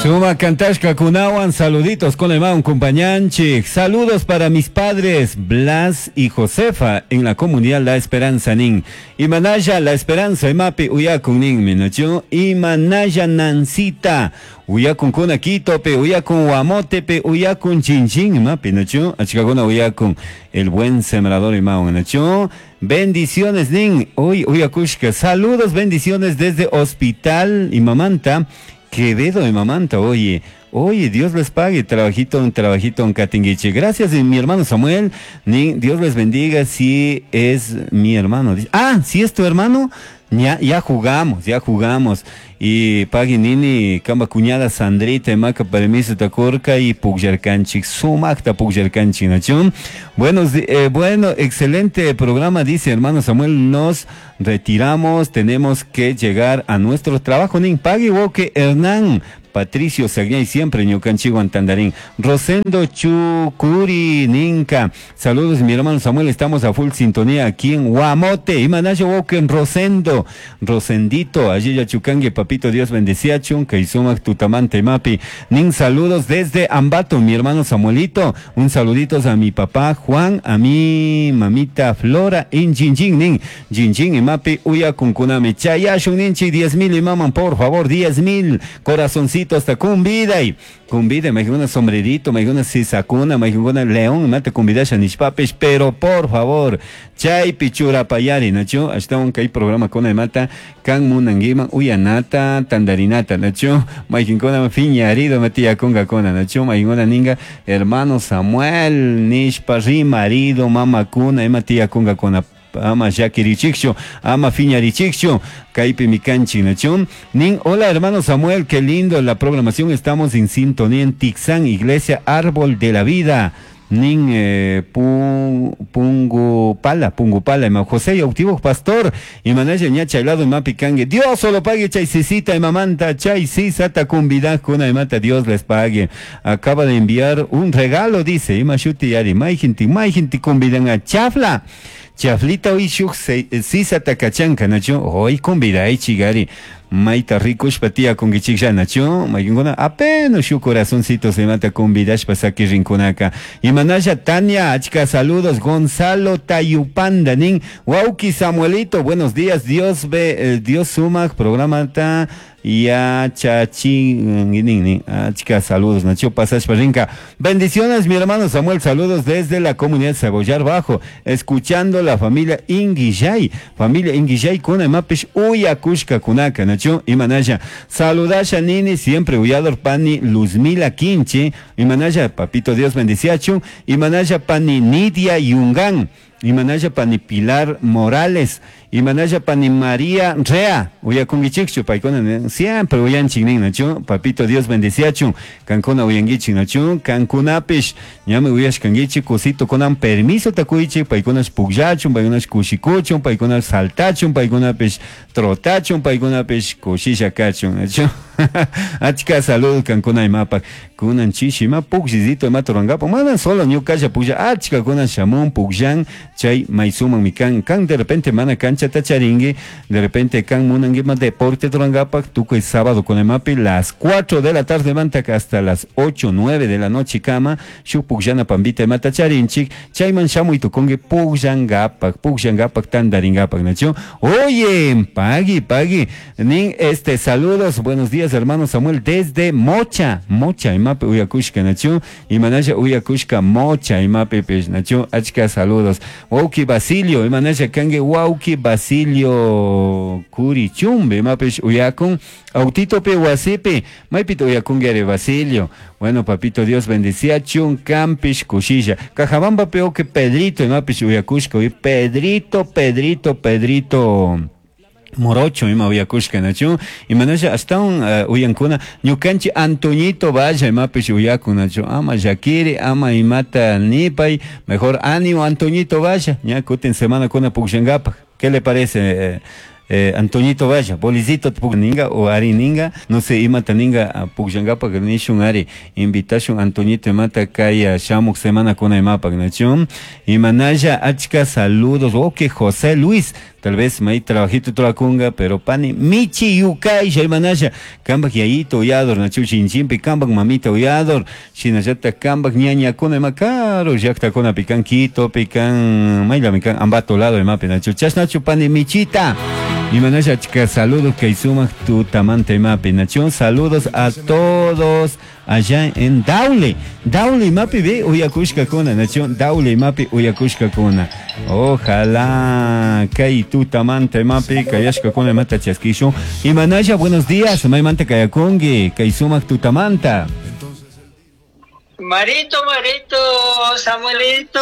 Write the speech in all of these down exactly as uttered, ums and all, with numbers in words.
Suma kantashkakunawan saluditos con el compañanchik. Saludos para mis padres Blas y Josefa en la comunidad La Esperanza nin. Imanaya La Esperanza imapi uyakun nin minachu. Imanaya Nancita. Uyakun kuna Quitope, uyakun Guamotepe, uyakun Chinchín imapi nachu. Achkakuna uyakun el buen sembrador imawan nachu. Bendiciones nin. Hoy uyakushka. Saludos, bendiciones desde Hospital Imamanta. Quevedo de Mamanta, oye, oye, Dios les pague, trabajito, un trabajito en Catinguiche. Gracias, mi hermano Samuel, ni, Dios les bendiga, si es mi hermano. Ah, si es tu hermano, ya, ya jugamos, ya jugamos. Y pagui nini, kamba cuñada Sandrita, maca permiso takurka y pugllarkanchik, sumakta pugllarkanchik, nachun. Buenos, eh, bueno, excelente programa, dice hermano Samuel, nos retiramos, tenemos que llegar a nuestro trabajo, nin pagui woke Hernán. Patricio Sagnay siempre ñukanchiwan Antandarín. Rosendo Chucuri Ninca. Saludos mi hermano Samuel, estamos a full sintonía aquí en Guamote. Imanayo Woken Rosendo. Rosendito, allí ya Chucangue, papito Dios bendecía chunca y sumac tutamante mapi. Nin saludos desde Ambato, mi hermano Samuelito. Un saludito a mi papá Juan, a mi mamita Flora en Jinjin, nin. Jinjin y mapi uya kunkunami. Chayashun ninchi diez mil y maman, por favor, diez mil. Corazoncito hasta cumbida y cumbida, me una sombrerito, me una sisacuna, me una león, mate cumbida nishpapis, pero por favor, chay pichura payari, nacho, hasta un kai programa con el mata, kan munanguiman, uyanata, tandarinata, nacho, maikinkona fiñarido metía conga cona, nacho, maikinkona ninga, hermano Samuel, nishpa, marido, mama cuna, ematía conga cona. Ama Yakirichikcho, ama Fiñarichikcho, Kaipi Mikanchi Nachón. Nin, hola hermano Samuel, qué lindo la programación, estamos en sintonía en Tixán, Iglesia Árbol de la Vida. Nin eh, pu, Pungupala, Pungupala, ima José Autivo Pastor, y manaya ñacha helado y mapi cangue. Dios solo pague chaisicita y mamanta, chaisisata cumbida cuna y mata, Dios les pague. Acaba de enviar un regalo, dice, ima shuti yari, mai gente, mai gente cumbidan a chafla. Chaflita hoy shuk sisa takachanka nacho, hoy convidai chigari. Maita rikushpa tía con gichiklla nacho, maykinguna apenas shu corazoncito se mata convidashpa saki rinkunaka. Y manaya Tania, achka saludos, Gonzalo Tayupanda, nin, Wauki Samuelito, buenos días, Dios ve, eh, Dios sumak, programa ta, ya chachi, nin, nin, achka saludos, nacho pasashpa rinka. Bendiciones, mi hermano Samuel, saludos desde la comunidad Cebollar Bajo, escuchando la familia Inguillay, familia Inguillay, kuna mapish, uyakushka kunaka, nacho. Imanaya, saludasha nini, siempre uyador pani Luzmila Quinche, Imanaya, papito Dios bendiciachu, Imanaya pani Nidia Yungán, Imanaya pani Pilar Morales, Imanaya pani María Rea, uyakungichikchu, paykuna siempre uyanchik nin nachu, papito Dios bendiciachu, kankuna uyangichik nachu, kankunapish, ñami uyashkangichik, kusito kunan permiso takuichik, paykunash pukllachun, paykunash kushikuchun, paykunash saltachun, paykunapish trotachun, paykunapish kushisha kachun, nachu. Achka salud kankuna imapak, kunan chishi ima pukllisito ima turangapak, mana solo ñukalla puklla, achka kunan shamun pukllan, chay maysuman mi kan, kan de repente mana cancha tacharingui, de repente kan munanguima deporte turangapak, tukuy sábado con emapi, las cuatro de la tarde mantaka hasta las ocho, nueve de la noche kama, shuk pukllana pambita ima tacharinchik, chayman shamuy tukungi pukllangapak, pukllangapak tandaringapak, nacho. Oye, pagui, pagui, nin, este, saludos, buenos días hermano Samuel, desde Mocha, Mocha, imapi uyakushka, nacho, imanaya uyakushka Mocha, imapi pish, nacho, achka saludos. Wauki Basilio, imanaya kangue Wauki Basilio Curichumbe, imapish uyakun, autito pe wasipi, maipito uyakungue Basilio. Bueno, papito Dios bendecía chun campish kushilla. Cajabamba peo que Pedrito, imapish uyakushka, Pedrito, Pedrito, Pedrito. Morocho ima uyakushka nachu imanasha hasta un uh, uyankuna ñukanchi Antoñito vaya imapish uyakun nachu ama llakiri ama imata nipay mejor ánimo Antoñito vaya ña kutin semana kuna pukllankapak. ¿Qué le parece eh, eh, Antoñito vaya, bolicito ninga o ari ninga, no sé, imata ninga pukllangapa nishun ari, invitashun Antoñito imata kay shamuk semana kuna imapak nachun, imanalla achka saludos, ok José Luis, tal vez may trabajito trakunga, pero pani michi yukay imanalla, kambak yayito uyador nachu chinchimpi, kambak mamita uyador, shinallata kambak ñañakuna ima karu llaqtakuna pikan Quito, pikan mayla mikan ambato lado imapi nachu, chashnachu pani michita. Imanalla achka saludos kay sumak tutamanta imapi nachun, saludos a todos allá en Daule, Daule imapi ve uyakushkakuna nachun, Daule imapi uyakushkakuna. Ojalá kay tutamanta imapi kayashkakuna imata chaskishun. Imanalla, buenos días, maymanta kayakunki, kay sumak tutamanta. Marito, Marito, Samuelito,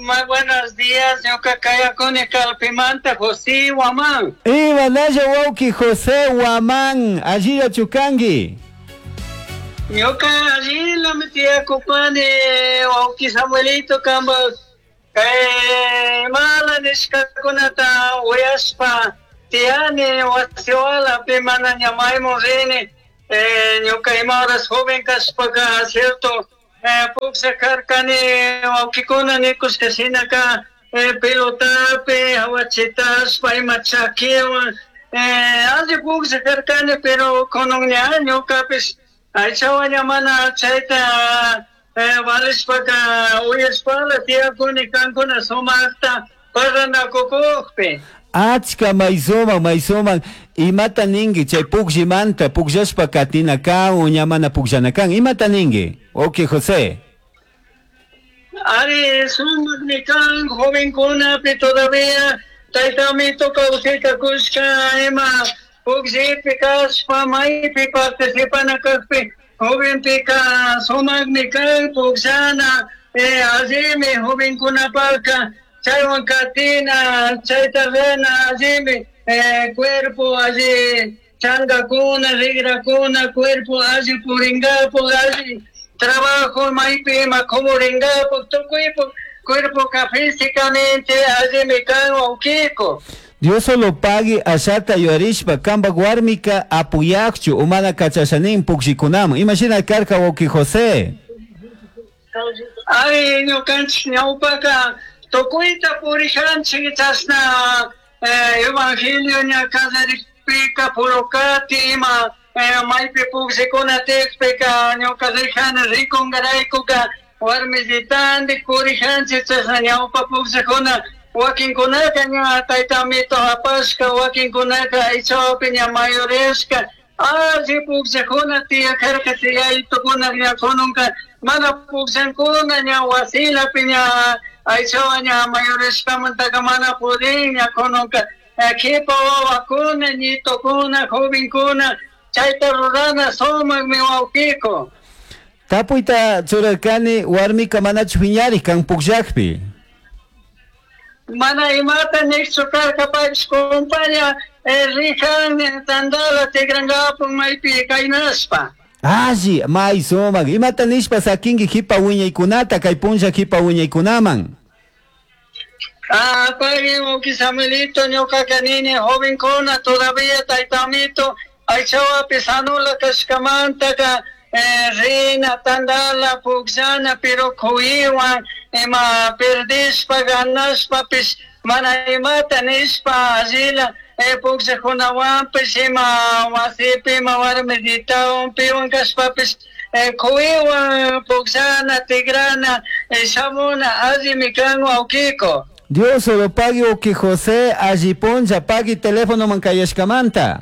muy buenos días, yo kayakuni Calpimanta, José Guamán. Imanalla wawki José Guamán, allí achukangi. Ñuka allí la metía copani, wawki Samuelito, kamba, kay mala nishkakunata uyashpa, tiyani wasiwala pi mana ñamaymun rini. Eh, ñuka ima horas joven kashpaka, cierto, eh, puklla karkani wawkikuna nikushka shinaka, eh, pelotapi, hawachitashpa, ima chakiwan, eh, alli puklla karkani, pero kunan ña ñukapish aychawan ña mana chayta, eh, valishpaka uyashpala tiyakuni kankuna sumakta parlanakukukpi. Achka maysuman, maysuman, imata ninki chay pukllimanta, pukllashpa katina kan o ña mana pukllana kan, imata ninki? Ok, José. Ari, sumakmi kan, jovenkunapi todavía, taytamito kawsayta kushka, ima pukllipi kashpa, maypi participana kakpi, jovenpika sumakmi kan, pukllana, eh, allimi jovenkunapaka, chaywan katina, chayta rena, allimi, eh, cuerpo alli changakuna, rigrakuna, cuerpo alli puringapo, alli trabajo maypi ima kumuringapo, tukuypo cuerpo ka físicamente allimi kan wawkiko. Dios solo pague allata yuarishpa, kambak warmika apuyakchu, umana kachashanin pukllikunaman. Imagina karka wawki José. Ay, ñukanchik ñawpaka tukuyta purijanchik chashna, eh, evangelio ña kallarikpika purukati ima, eh, maypi pukllikuna tiyakpika ñuka rijani rikungaraykuka warmillitandik purijanchik chashna ñawpa pukllikuna wakinkunaka ña taytamito apashka, wakinkunaka aychawapi ña mayoreshka, alli pukllakuna tiyakarka tiyaytukuna ña kununka mana pukllankuna ña wasilapi ña aychawa ña mayoreshkamantaka mana pudin ña kununka, kipa wawakuna, ñitokuna, jovenkuna chayta rurana sumakmi wawkiko. Tapuyta churarkani warmika manachu phiñarik kan pukllakpi. Mana imata niqchu karka paypish compaña, eh, rijan tandala tikrankapun maypi kaynashpa. Alli, may sumak, imata nishpa sakinki hipa wiñaykunata, kay punlla hipa wiñaykunaman. Ah, pagui wawki Samuelito, ñuqaka nini jovenkuna todavía taytamito aychawapi sanula kashkamantaka, eh, rina, tandala, pukllana, pero kuywan, ima perdishpa, ganashpapish, mana imata nishpa, allila, eh, pukllakunawanpish, ima wasipi, ima warmiditawan, piwan kashpapish, eh, kuywan, pukllana, tigrana, eh, shamuna, allimi kan wawkiko. Dios lo pague wawki José, alli punlla, pagui teléfono mankayashkamanta.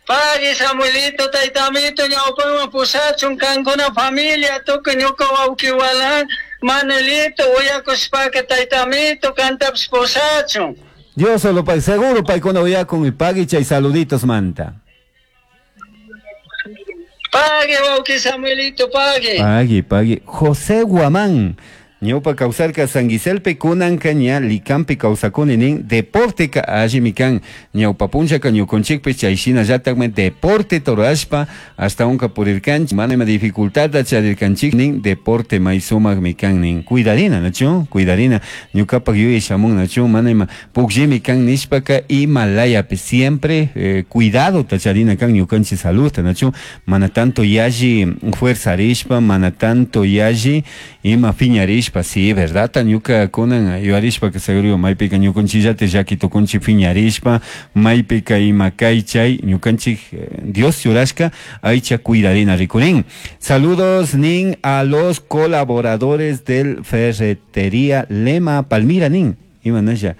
Pagui Samuelito, taytamito, ñawpaman pushachun kankuna familia, tukuy ñuka wawkiwalan, Manuelito, uyakushpaka taytamito, kantapish pushachun. Dios lo pague, seguro paykuna uyakun y pagui chay saluditos manta. Pagui wawki Samuelito, pagui. Pagui, pagui. José Guamán. Ñawpa kawsarka San Giselpi kunanka ña Licampi kawsakuni nin deporteka allimi kan ñawpa punllaka ñukunchikpi chay shinallatakmi deporte rurashpa ashtawanka purirkanchik mana ima dificultadta charirkanchik nin deporte may sumakmi kan nin cuidarina nachu cuidarina ñukapak yuyay shamun nachu mana ima pukllimi kan nishpaka ima layapi siempre eh, cuidadota charina kan ñukanchik saludta nachu mana tanto yalli fuerzarishpa mana tanto yalli ima piñarishpa sí verdad ñuka kunan yuyarishpa que seguro maypika ñukanchillata llaki tukunchik piñarishpa maypika ima kay chay ñukanchik eh, Dios churashka aycha cuidarina rikurin. Saludos nin a los colaboradores del Ferretería Lema Palmira nin ima nasha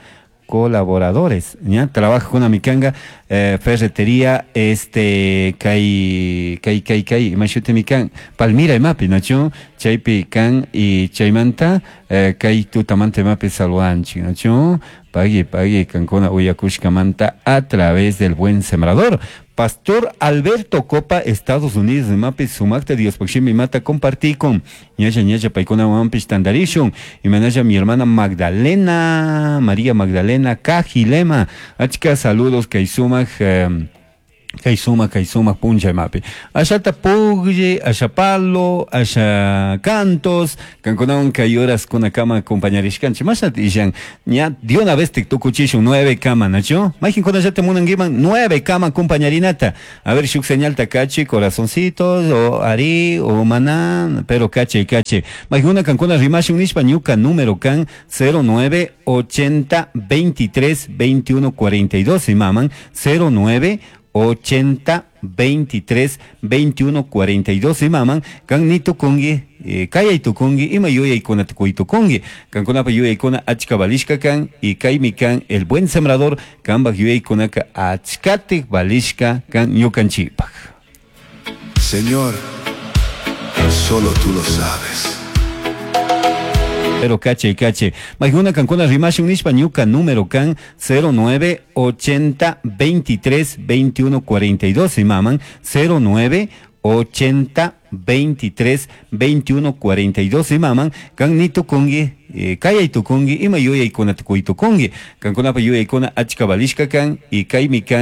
colaboradores ya trabaja con amikanga eh, ferretería este kay kay kay kay ima shutimi kan Palmira imapi nachu chaypi kan y chaymanta eh, kay tutamanta imapi saludanchik nachu pagui pagui kankuna uyakushkamanta a través del Buen Sembrador. Pastor Alberto Copa, Estados Unidos, imapi sumakta Diospaj shimi mata compartí con ñalla ñalla paykuna wampish tandarishun imanalla mi hermana Magdalena María Magdalena Cajilema achka saludos kay sumak eh, kay sumak kay sumak punlla imapi ashata puglli asha palo asha cantos kankunawan kay horas kunakama acompañarishkanchik mashnata illan ña de una vez tukuchishun nueve kama nachu mayqinkunallata munankiman nueve kama acompañarinata a ver shuk señalta kachi corazoncitos o ari o maná pero kachi kachi mayqikuna kankuna rimashun nishpa ñuka número kan cero nueve ochenta veintitrés veintiuno cuarenta y dos imaman cero nueve ochenta veintitrés veintiuno cuarenta y dos imaman kan ni tukungi eh, kayay tukungi ima yuyaykunata kuy tukungi kankunapa yuyaykuna achka valishka kan y kaymi kan el Buen Sembrador kanpak yuyaykunaka achkatik valishka kan ñukanchikpak. Señor, solo tú lo sabes. Pero cache, cache. Mayqikuna kankuna rimashun nishpa ñuka número kan cero nueve ochenta veintitrés veintiuno cuarenta y dos imaman cero nueve ochenta veintitrés veintiuno cuarenta y dos imaman kan ni tukungi eh, kayay tukungi ima yuyaykunata kuy tukungi kankunapa yuyaykuna achka valishka kan y kaymi kan.